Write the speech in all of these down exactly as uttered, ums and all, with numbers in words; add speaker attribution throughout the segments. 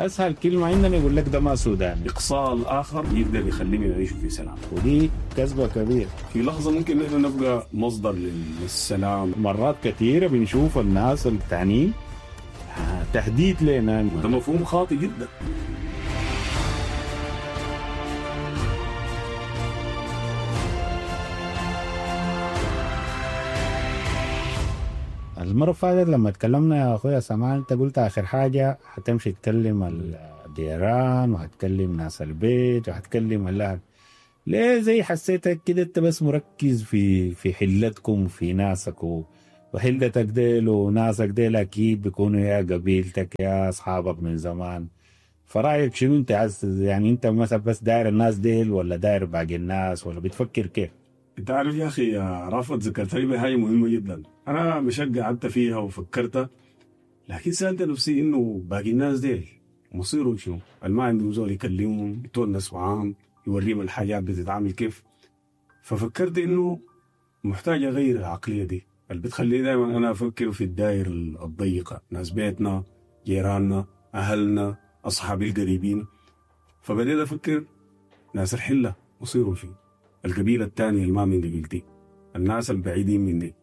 Speaker 1: اسهل كلمة عندنا يقول لك ده ما سوداني.
Speaker 2: اقصاء الاخر يقدر يخليهم يعيشوا في سلام.
Speaker 1: ودي كذبه كبيرة.
Speaker 2: في لحظة ممكن نحن نبقى مصدر للسلام.
Speaker 1: مرات كثيرة بنشوف الناس التانيين تهديد لنا.
Speaker 2: ده مفهوم خاطئ جدا.
Speaker 1: المرة اللي فاتت لما تكلمنا يا أخويا سماع، أنت قلت آخر حاجة حتمشي تكلم الجيران وهتكلم ناس البيت وهتكلم الأهل. ليه زي حسيتك كده أنت بس مركز في في حلتكم في ناسك و... وحلتك ديل وناسك ديل أكيد بيكونوا يا قبيلتك يا أصحابك من زمان. فرأيك شنو أنت عايز يعني أنت مثلا بس داير الناس ديل ولا داير باقي الناس ولا بتفكر كيف؟
Speaker 2: انت عارف يا اخي يا رافت، ذكرتني بحاجة مهمة جدا. انا مشيت قعدت فيها وفكرت، لكن سالت نفسي انه باقي الناس ديل مصيرهم شنو؟ اللي ما عندهم زول يكلمهم، يتونس معاهم، يوريهم الحاجات بتتعامل كيف. ففكرت انه محتاج اغير العقلية دي اللي بتخليني دائما انا افكر في الدائرة الضيقه، ناس بيتنا، جيراننا، اهلنا، اصحابي القريبين. فبديت افكر ناس الحلة مصيرهم شنو؟ القبيلة الثانية اللي ما من قبيلتي، الناس البعيدين مني.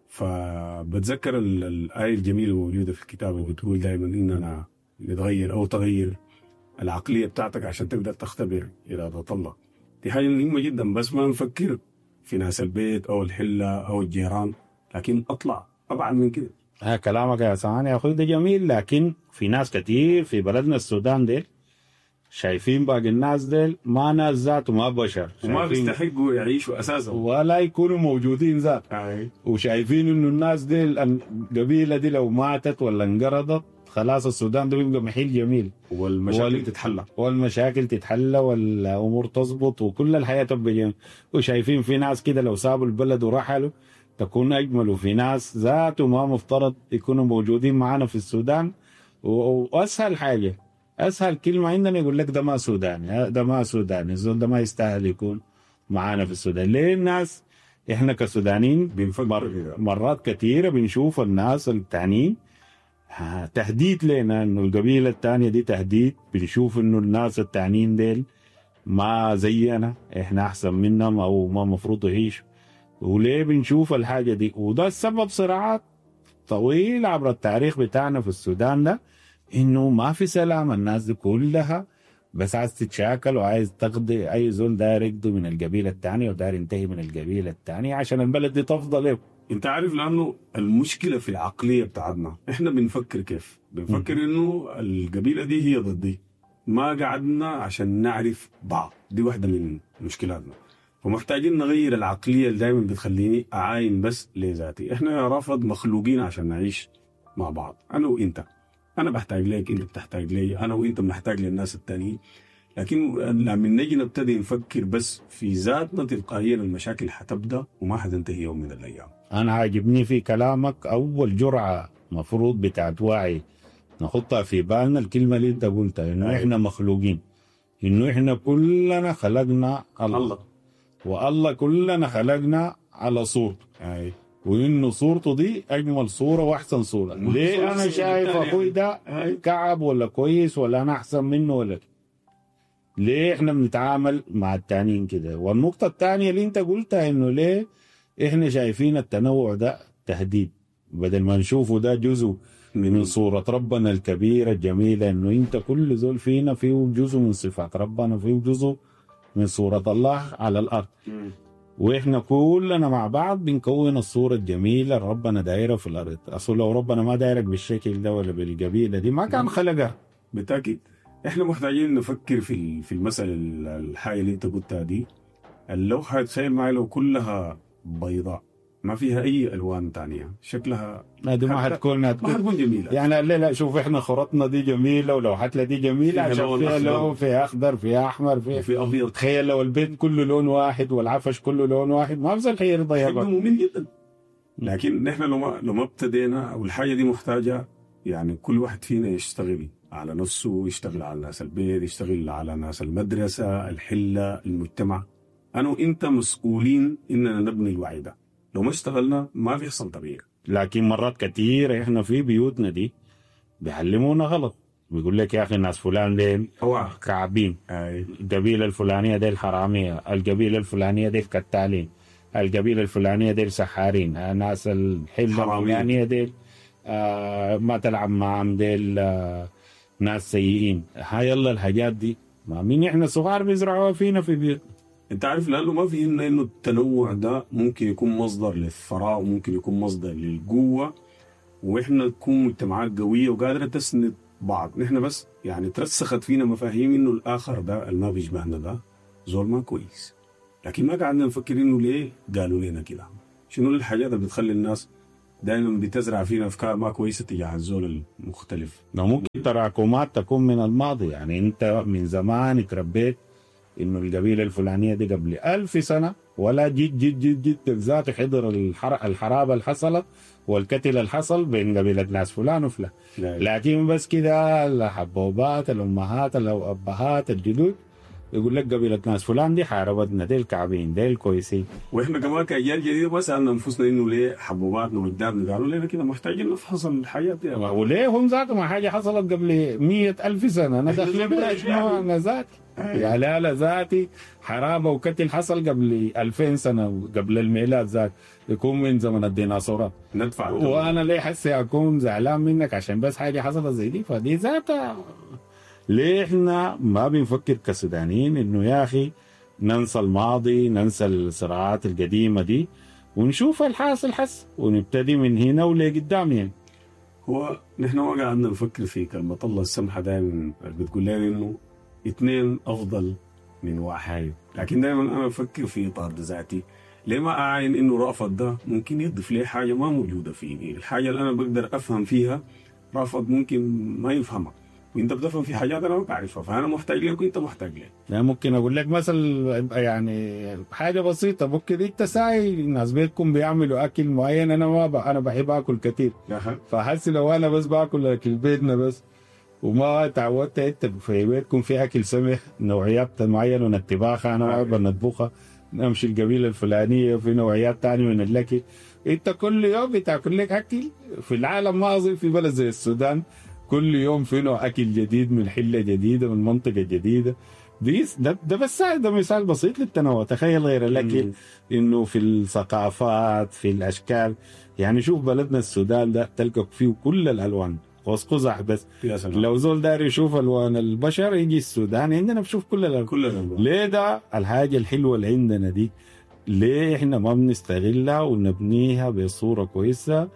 Speaker 2: فبتذكر ال- الآية الجميلة الموجودة في الكتاب اللي بتقول دائما إننا نتغير أو تغير العقلية بتاعتك عشان تقدر تختبر إرادة الله. دي حاجة مهمة جدا، بس ما نفكر في ناس البيت أو الحلة أو الجيران، لكن أطلع أبعد من كده.
Speaker 1: ها كلامك يا سعان يا أخوي ده جميل، لكن في ناس كتير في بلدنا السودان ديل شايفين باقي الناس ديل ما ناس ذاته، ما بشر،
Speaker 2: وما
Speaker 1: شايفين
Speaker 2: بيستحقوا يعيشوا أساسا.
Speaker 1: ولا يكونوا موجودين ذات.
Speaker 2: أي.
Speaker 1: وشايفين انه الناس ديل القبيلة دي لو ماتت ولا انقرضت خلاص السودان ده بيبقى محل جميل،
Speaker 2: والمشاكل
Speaker 1: وال-
Speaker 2: تتحلى.
Speaker 1: والمشاكل تتحلى والامور تظبط وكل الحياة تبقى جميلة. وشايفين في ناس كده لو سابوا البلد ورحلوا تكون اجمل، وفي ناس ذاته ما مفترض يكونوا موجودين معانا في السودان. و- واسهل حاجة، اسهل كلمة عندنا يقول لك ده ما سوداني، ده ما سوداني، الزول ده ما يستاهل يكون معانا في السودان. ليه الناس احنا كسودانيين
Speaker 2: بنفكر
Speaker 1: مر
Speaker 2: كده.
Speaker 1: مرات كثيرة بنشوف الناس التانيين ها، تهديد لنا انه القبيلة الثانية دي تهديد، بنشوف انه الناس التانيين ديل ما زينا، احنا احسن منهم او ما مفروض يعيشوا. وليه بنشوف الحاجة دي؟ وده السبب صراعات طويل عبر التاريخ بتاعنا في السودان ده، انه ما في سلام، الناس دي كلها بس عايز تتشاكل وعايز تقضي، اي زول داير يقضي من القبيلة الثانية وداير ينتهي من القبيلة الثانية عشان البلد دي تفضل له.
Speaker 2: انت عارف، لانه المشكلة في العقلية بتاعتنا، احنا بنفكر كيف؟ بنفكر انه القبيلة دي هي ضدي، ما قعدنا عشان نعرف بعض. دي واحدة من مشكلاتنا، فمحتاجين نغير العقلية اللي دايما بتخليني اعاين بس لذاتي. احنا يا رافض مخلوقين عشان نعيش مع بعض، انا وانت، انا بحتاج لك، انت بتحتاج لي، انا وانت بنحتاج للناس التانيين. لكن لما نجي نبتدي نفكر بس في ذاتنا تلقائيا المشاكل حتبدا وما حتنتهي يوم من الايام.
Speaker 1: انا عاجبني في كلامك اول جرعة مفروض بتاعت وعي نحطها في بالنا، الكلمة اللي انت قلتها انه
Speaker 2: أيوة.
Speaker 1: احنا مخلوقين، انه احنا كلنا خلقنا الله,
Speaker 2: الله.
Speaker 1: والله كلنا خلقنا على صورته،
Speaker 2: اي
Speaker 1: وانه صورته دي اجمل صوره واحسن صوره.
Speaker 2: ما
Speaker 1: ليه
Speaker 2: صورة
Speaker 1: انا
Speaker 2: الصورة
Speaker 1: شايف
Speaker 2: التانية.
Speaker 1: اخوي ده
Speaker 2: اي
Speaker 1: كعب ولا كويس ولا انا احسن منه ولا ليه احنا بنتعامل مع التانيين كده؟ والنقطة الثانية اللي انت قلتها انه ليه احنا شايفين التنوع ده تهديد بدل ما نشوفه ده جزء من صورة ربنا الكبيرة الجميلة، انه انت كل زول فينا فيه جزء من صفات ربنا، فيه جزء من صورة الله على الارض، واحنا كلنا مع بعض بنكون الصورة الجميلة اللي ربنا دايرها في الارض. اصل لو ربنا ما دايرك بالشكل ده ولا بالقبيلة دي ما كان خلقها.
Speaker 2: بالتاكيد احنا محتاجين نفكر في ال- في المسالة ال- الحاجة اللي انت قلتها دي. اللوحة تخيل معي لو كلها بيضاء ما فيها اي الوان تانية، شكلها
Speaker 1: لا دي ما
Speaker 2: حتى-
Speaker 1: حتكون
Speaker 2: ما
Speaker 1: هتكون
Speaker 2: حتكون جميلة.
Speaker 1: يعني لا لا شوف احنا خرطنا دي جميلة ولوحتنا دي جميلة
Speaker 2: فيها
Speaker 1: عشان
Speaker 2: لون
Speaker 1: فيها
Speaker 2: أخضر.
Speaker 1: لون، فيها اخضر، فيها احمر، فيها
Speaker 2: وفي ابيض،
Speaker 1: تخيل لو البيت كله لون واحد والعفش كله لون واحد ما بزل حيرضى
Speaker 2: حيبقى
Speaker 1: يبقى.
Speaker 2: ممل جدا. لكن نحن لو ما لو ما ابتدينا، او الحاجة دي محتاجه يعني كل واحد فينا يشتغل على نفسه، يشتغل على ناس البيت، يشتغل على ناس المدرسة، الحلة، المجتمع. انا وانت مسؤولين اننا نبني الوعي ده. لو ما اشتغلنا ما بيحصل تغيير.
Speaker 1: لكن مرات كثيرة احنا في بيوتنا دي بيعلمونا غلط. بيقول لك يا اخي الناس فلان ديل
Speaker 2: اوعى
Speaker 1: كعبين،
Speaker 2: اي
Speaker 1: القبيلة الفلانية ديل حرامية، القبيلة الفلانية ديل كتالين، القبيلة الفلانية ديل سحارين، ناس الحلة
Speaker 2: حرامية.
Speaker 1: الفلانية ديل آه ما تلعب معهم ديل آه ناس سيئين. هاي يلا الحاجات دي ما مين احنا صغار بيزرعوها فينا في بيوتنا.
Speaker 2: انت عارف لانه ما فهمنا انه التنوع ده ممكن يكون مصدر للثراء وممكن يكون مصدر للقوة، واحنا نكون مجتمعات قوية وقادرة تسند بعض. نحن بس يعني ترسخت فينا مفاهيم انه الاخر ده اللي ما بيشبهنا ده زول ما كويس، لكن ما قعدنا نفكر انه ليه قالوا لنا كده. شنو الحاجات اللي بتخلي الناس دائما بتزرع فينا افكار ما كويسة تجاه الزول المختلف؟
Speaker 1: لو ممكن تراكمات تكون من الماضي، يعني انت من زمان تربيت انه القبيلة الفلانية دي قبل ألف سنة ولا جيت جيت جيت جيت ذاته حضر الحر... الحرابه اللي حصلت والقتل اللي حصل بين قبيلة ناس فلان وفلان،
Speaker 2: لا.
Speaker 1: لكن بس كده الحبوبات الامهات الابهات الجدود يقول لك قبيلة ناس فلان دي حاربتنا، ديل كعبين ديل كويسين.
Speaker 2: واحنا كمان كاجيال جديدة ما سالنا انفسنا انه ليه حبوباتنا واجدادنا قالوا لنا كده، محتاجين نفحص الحاجات دي.
Speaker 1: وليه هم ذاتهم ما حاجة حصلت قبل مية ألف سنة، انا داخل بها شنو؟ انا ذاتي يا لا لا ذاتي حرابه وقتل حصل قبل ألفين سنة قبل الميلاد ذات، يكون من زمن الديناصورات.
Speaker 2: ندفع الثمن.
Speaker 1: وانا ليه حسي اكون زعلان منك عشان بس حاجة حصلت زي دي؟ فدي ذاتها ليه احنا ما بنفكر كسودانيين انه يا اخي ننسى الماضي، ننسى الصراعات القديمة دي، ونشوف الحاصل حس ونبتدي من هنا ولقدام. يعني
Speaker 2: هو نحن ما قعدنا نفكر في كلمة الله السمحة دائما بتقول لنا انه اثنين افضل من واحد، لكن دائما انا بفكر في اطار ذاتي. ليه ما اعاين انه رأفت ده ممكن يضيف لي حاجة ما موجودة فيني، الحاجة اللي انا بقدر افهم فيها رأفت ممكن ما يفهمها، وانت بتفهم في حاجات انا ما بعرفها، فانا محتاج لك وانت محتاج لي.
Speaker 1: يعني ممكن اقول لك مثل يعني حاجة بسيطة، ممكن انت ساي ناس بيتكم بيعملوا اكل معين، انا ما ب... انا بحب اكل كثير، فحس لو انا بس باكل اكل بيتنا بس وما تعودت انت في بيتكم في اكل سمح نوعيات معينة من الطباخه انا ما بنطبخها، نمشي القبيلة الفلانية في نوعيات ثانية من الاكل، انت كل يوم بتاكل لك اكل في العالم ما اظن في بلد زي السودان كل يوم في نوع اكل جديد من حله جديدة من منطقة جديدة. دي ده, ده بس ده مثال بسيط للتنوع. تخيل غير الاكل انه في الثقافات في الاشكال، يعني شوف بلدنا السودان ده تلقى فيه كل الالوان قوس قزح بس.
Speaker 2: يا سلام.
Speaker 1: لو زول داير يشوف الوان البشر يجي السودان، عندنا بشوف كل الالوان.
Speaker 2: كل الالوان.
Speaker 1: ليه ده الحاجة الحلوة اللي عندنا دي ليه احنا ما بنستغلها ونبنيها بصورة كويسة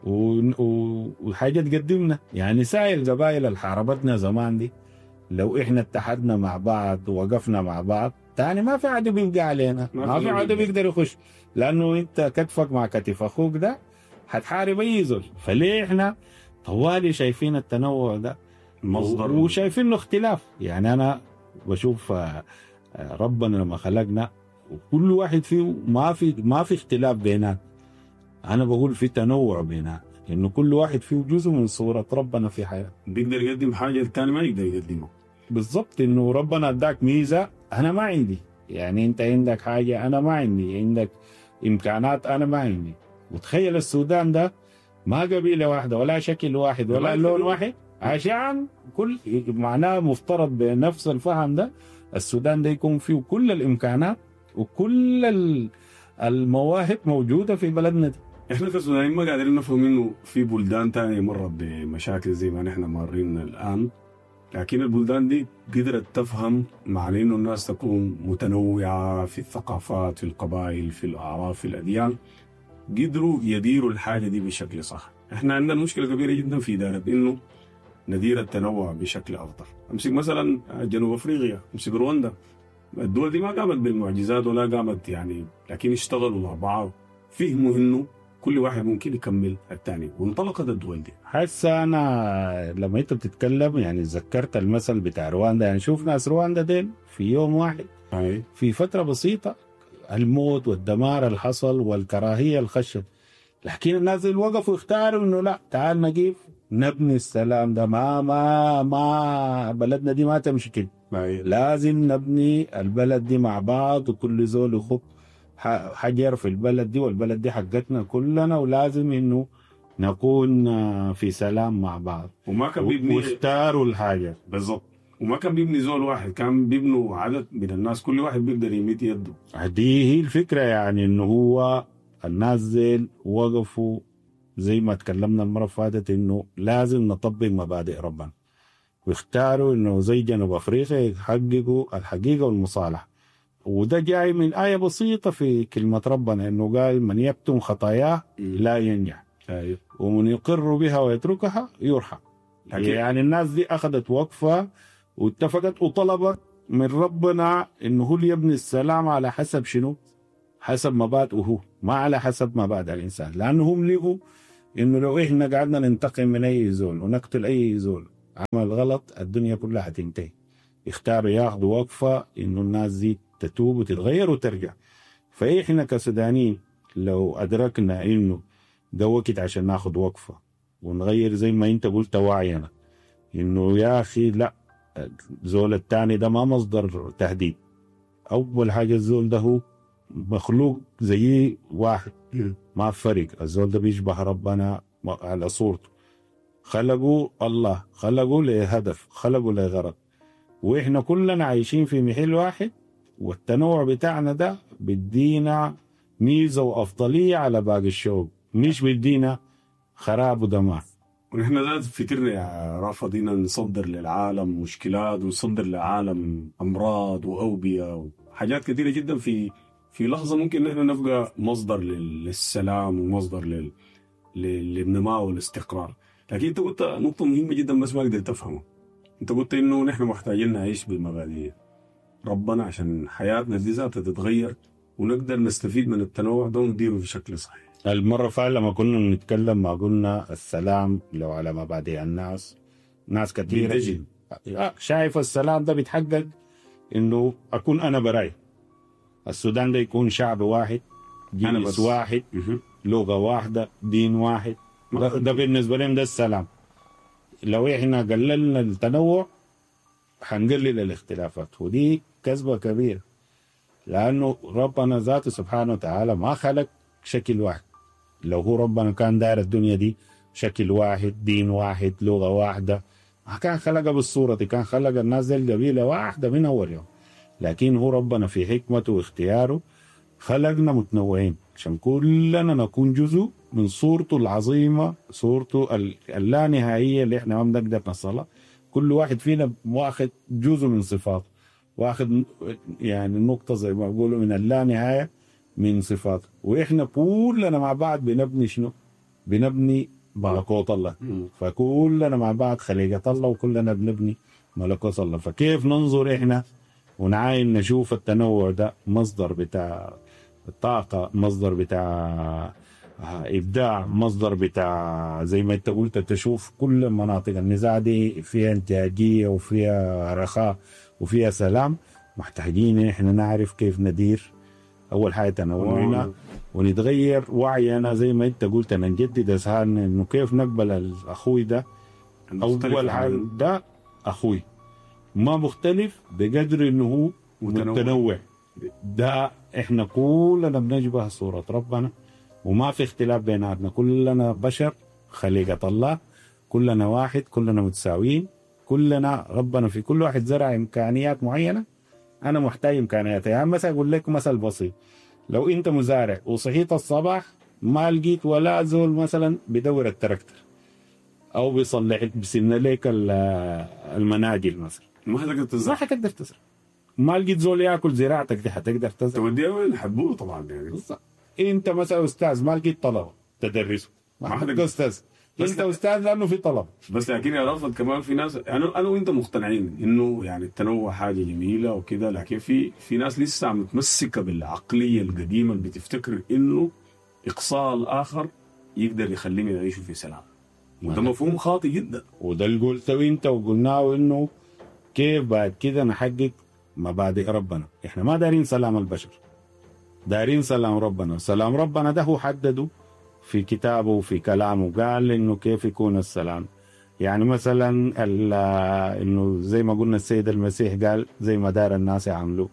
Speaker 1: وحاجه تقدمنا؟ يعني ساير القبائل اللي حاربتنا زمان دي لو احنا اتحدنا مع بعض ووقفنا مع بعض تاني ما في عدو بيبقى علينا، ما في عدو بيقدر يخش، لانه انت كتفك مع كتف اخوك ده هتحارب اي زول. فليه احنا طوالي شايفين التنوع ده
Speaker 2: مصدر
Speaker 1: وشايفين له اختلاف؟ يعني انا بشوف ربنا لما خلقنا وكل واحد فيه ما في ما في اختلاف بينات، انا بقول في تنوع بينات، انه كل واحد فيه جزء من صورة ربنا في حياته،
Speaker 2: بيقدر يقدم حاجة الثاني ما يقدر يقدمها.
Speaker 1: بالضبط، انه ربنا اداك ميزة انا ما عندي، يعني انت عندك حاجة انا ما عندي، عندك امكانات انا ما عندي. وتخيل السودان ده ما قبيلة واحدة ولا شكل واحد ولا لون واحد، عشان كل معناه مفترض بنفس الفهم ده السودان ده يكون فيه كل الامكانات وكل المواهب موجودة في بلدنا دي.
Speaker 2: احنا كسودانيين ما قادرين نفهم انه في بلدان تانية مرت بمشاكل زي ما نحن مارين الان، لكن البلدان دي قدرت تفهم معنى انه الناس تكون متنوعة في الثقافات، في القبائل، في الاعراف، في الاديان، قدروا يديروا الحاجة دي بشكل صح. احنا عندنا مشكلة كبيرة جدا في إدارة انه ندير التنوع بشكل افضل. امسك مثلا جنوب افريقيا، امسك رواندا، الدول دي ما قامت بالمعجزات ولا قامت يعني، لكن اشتغلوا مع بعض، فهموا انه كل واحد ممكن يكمل الثاني، وانطلقت الدول دي.
Speaker 1: حاسه انا لما انت بتتكلم يعني ذكرت المثل بتاع رواندا، يعني شوف ناس رواندا ديل في يوم واحد
Speaker 2: أي.
Speaker 1: في فترة بسيطة الموت والدمار اللي حصل والكراهية اللي خشت، لكن الناس اللي وقفوا اختاروا انه لا تعال نقيف نبني السلام ده، ما ما ما بلدنا دي ما تمشي كده، لازم نبني البلد دي مع بعض، وكل زول يخط حجر في البلد دي، والبلد دي حقتنا كلنا، ولازم انه نكون في سلام مع بعض.
Speaker 2: وما كان بيبني
Speaker 1: واختاروا الحاجة
Speaker 2: بالضبط، وما كان بيبني زول واحد، كان بيبنوا عدد من الناس، كل واحد بيقدر يمد يده.
Speaker 1: دي هي الفكرة، يعني انه هو الناس ديل وقفوا زي ما تكلمنا المرة فاتت انه لازم نطبق مبادئ ربنا، واختاروا انه زي جنوب افريقيا يحققوا الحقيقة والمصالحة. وده جاي من آية بسيطة في كلمة ربنا، انه قال من يكتم خطاياه لا ينجح،
Speaker 2: أيوه.
Speaker 1: ومن يقر بها ويتركها يرحم. يعني الناس دي أخذت وقفة واتفقت وطلبت من ربنا إنه هو اللي يبني السلام على حسب شنو؟ حسب مبادئه هو، ما على حسب مبادئ الإنسان. لأنه هم لقوا إنه لو إحنا قعدنا ننتقم من أي زول ونقتل أي زول عمل غلط الدنيا كلها حتنتهي. اختاروا ياخذوا وقفة إنه الناس دي تتوب وتتغير وترجع. فإحنا كسودانيين لو أدركنا إنه ده وقت عشان ناخذ وقفة ونغير زي ما أنت قلت وعينا، إنه يا أخي لا، الزول الثاني ده ما مصدر تهديد. أول حاجة الزول ده هو مخلوق زي واحد، ما فرق، الزول ده بيشبه ربنا على صورته، خلقوا الله، خلقوا لهدف، خلقوا لغرض، وإحنا كلنا عايشين في محل واحد، والتنوع بتاعنا ده بدينا ميزة وأفضلية على باقي الشعوب، مش بدينا خراب ودمار.
Speaker 2: ونحن ذات فكرنا يا رافض نصدر للعالم مشكلات، ونصدر للعالم أمراض وأوبئة وحاجات كثيرة جدا. في في لحظة ممكن نحن نبقى مصدر للسلام ومصدر لل للنماء والاستقرار. لكن انت قلت نقطة مهمة جدا بس ما قدرت افهمها. انت قلت انه نحن محتاجين نعيش بالمبادئ ربنا عشان حياتنا دي ذاتها تتغير ونقدر نستفيد من التنوع ده ونديره بشكل صحيح.
Speaker 1: المرة فعلا لما كنا نتكلم ما قلنا السلام لو على مبادئ الناس، ناس كثيرة شايف السلام ده بيتحقق انه اكون انا براي، السودان ده يكون شعب واحد، جنس واحد، لغة واحدة، دين واحد، ده, ده بالنسبة لهم ده السلام. لو احنا قللنا التنوع حنقلل الاختلافات، ودي كذبة كبيرة، لأنه ربنا ذاته سبحانه وتعالى ما خلق شكل واحد. لو هو ربنا كان داير الدنيا دي شكل واحد، دين واحد، لغة واحدة، ما كان خلقها بالصورة دي، كان خلق الناس دي القبيلة واحدة من أول يوم. لكن هو ربنا في حكمته واختياره خلقنا متنوعين عشان كلنا نكون جزء من صورته العظيمة، صورته اللانهائية اللي احنا ما بنقدر نصلها. كل واحد فينا واخد جزء من صفاته، واخد يعني نقطة زي ما بيقولوا من اللانهاية من صفاته، واحنا كلنا مع بعض بنبني شنو؟ بنبني ملكوت الله. فكلنا مع بعض خليقة الله، وكلنا بنبني ملكوت الله. فكيف ننظر احنا ونعاين نشوف التنوع ده مصدر بتاع الطاقة، مصدر بتاع إبداع، مصدر بتاع زي ما انت قلت تشوف كل مناطق النزاع دي فيها انتاجية وفيها رخاء وفيها سلام. محتاجين احنا نعرف كيف ندير أول حاجة تنوعنا ونتغير وعينا زي ما انت قلت، نجدد أذهاننا إنه كيف نقبل الأخوي ده. أول حاجة ده أخوي ما مختلف بقدر إنه هو متنوع. متنوع ده احنا كلنا بنشبه صورة ربنا وما في اختلاف بيناتنا، كلنا بشر خليقة الله، كلنا واحد، كلنا متساويين، كلنا ربنا في كل واحد زرع إمكانيات معينة. أنا محتاج إمكانيات. يعني مثلا أقول لك مثل بسيط، لو أنت مزارع وصحيت الصباح ما لقيت ولا زول مثلا بدور التراكتر أو بيصلح بسن لك المناجل مثلا،
Speaker 2: ما حتقدر تزرع،
Speaker 1: ما حتقدر تزرع. ما لقيت زول ياكل زراعتك دي حتقدر تزرع؟
Speaker 2: توديها وين؟ حبوه طبعا يعني.
Speaker 1: بالضبط. انت مثلا استاذ ما لقيت طلبه تدرسه، ما حتبقى استاذ. انت استاذ لانه في طلب.
Speaker 2: بس لكن يا رافض كمان في ناس، انا انا وانت مقتنعين انه يعني التنوع حاجة جميلة وكده، لكن في في ناس لسه متمسكة بالعقليه القديمة اللي بتفتكر انه اقصاء الاخر يقدر يخليهم يعيشوا في سلام، وده مفهوم خاطئ جدا.
Speaker 1: وده اللي قلته انت وقلناه، انه كيف بعد كده نحقق مبادئ ربنا. احنا ما دارين سلام البشر، دارين سلام ربنا. سلام ربنا ده هو حدده في كتابه وفي كلامه، قال انه كيف يكون السلام. يعني مثلا انه زي ما قلنا السيد المسيح قال زي ما دار الناس يعملوا،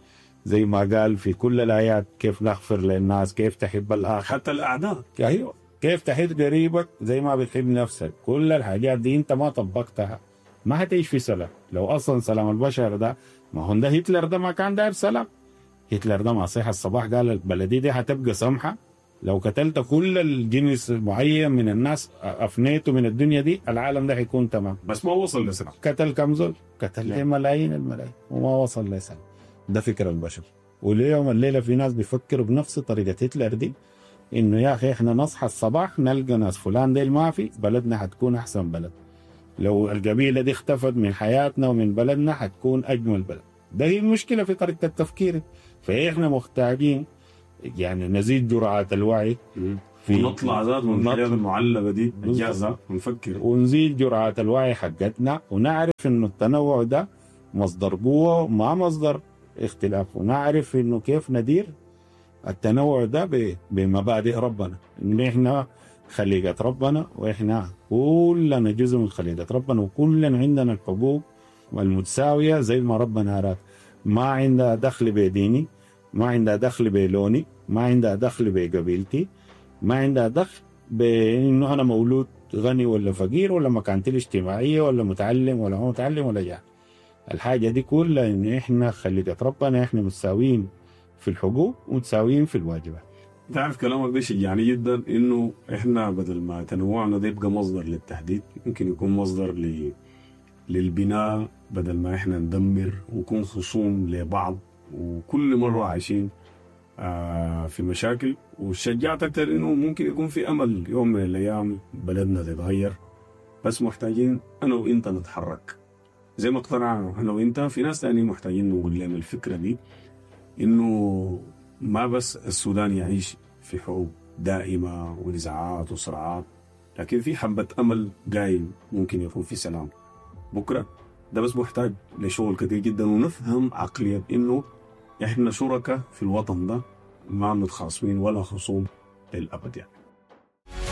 Speaker 1: زي ما قال في كل الايات كيف نغفر للناس، كيف تحب الاخر
Speaker 2: حتى الاعداء.
Speaker 1: ايوه، كيف تحب قريبك زي ما بتحب نفسك. كل الحاجات دي انت ما طبقتها ما حتعيش في سلام. لو اصلا سلام البشر ده، ما هو ده هتلر ده ما كان داير سلام. هتلر ده ما صحى الصباح قال البلدي دي حتبقى سمحه لو قتلت كل الجنس معين من الناس افنيته من الدنيا دي العالم ده حيكون تمام.
Speaker 2: بس ما وصل لسلام.
Speaker 1: قتل كم زول؟ قتل
Speaker 2: نعم.
Speaker 1: ملايين الملايين وما وصل لسلام. ده فكر البشر. وليوم الليلة في ناس بيفكروا بنفس طريقه هتلر دي، انه يا اخي احنا نصحى الصباح نلقى ناس فلان ديل ما في، بلدنا حتكون احسن بلد. لو القبيلة دي اختفت من حياتنا ومن بلدنا حتكون اجمل بلد. ده هي المشكلة في طريقه التفكير. فاحنا محتاجين يعني نزيد جرعات الوعي في
Speaker 2: ونطلع ذات من
Speaker 1: نطلع.
Speaker 2: الحاجات المعلبه دي
Speaker 1: بالضبط.
Speaker 2: الجاهزة ونفكر.
Speaker 1: ونزيد جرعات الوعي حقتنا، ونعرف انه التنوع ده مصدر قوة ما مصدر اختلاف، ونعرف انه كيف ندير التنوع ده ب- بمبادئ ربنا، ان احنا خليقة ربنا واحنا كلنا جزء من خليقة ربنا، وكلنا عندنا الحقوق المتساويه زي ما ربنا اراد. ما عندها دخل بديني، ما عندها دخل بلوني، ما عندها دخل بقبيلتي، ما عندها دخل بانه انا مولود غني ولا فقير ولا مكانتي الاجتماعية ولا متعلم ولا ما متعلم ولا جاهل. الحاجة دي كلها ان احنا خليقة ربنا، احنا متساويين في الحقوق ومتساويين في الواجبات.
Speaker 2: تعرف كلامك ده شجعني جدا، انه احنا بدل ما تنوعنا ده يبقى مصدر للتهديد، ممكن يكون مصدر ل... للبناء، بدل ما احنا ندمر ونكون خصوم لبعض وكل مرة عايشين آه في مشاكل. وشجعت اكتر انه ممكن يكون في امل يوم من الايام بلدنا تتغير، بس محتاجين انا وانت نتحرك زي ما اقتنعنا انا وانت. في ناس تانيين محتاجين نقول لهم الفكرة دي، انه ما بس السودان يعيش في حروب دائمة ونزاعات وصراعات، لكن في حبة أمل قايم ممكن يكون في سلام بكرة. ده بس محتاج لشغل كتير جدا، ونفهم عقلية إنه إحنا شركاء في الوطن ده، ما متخاصمين ولا خصوم للأبد يعني.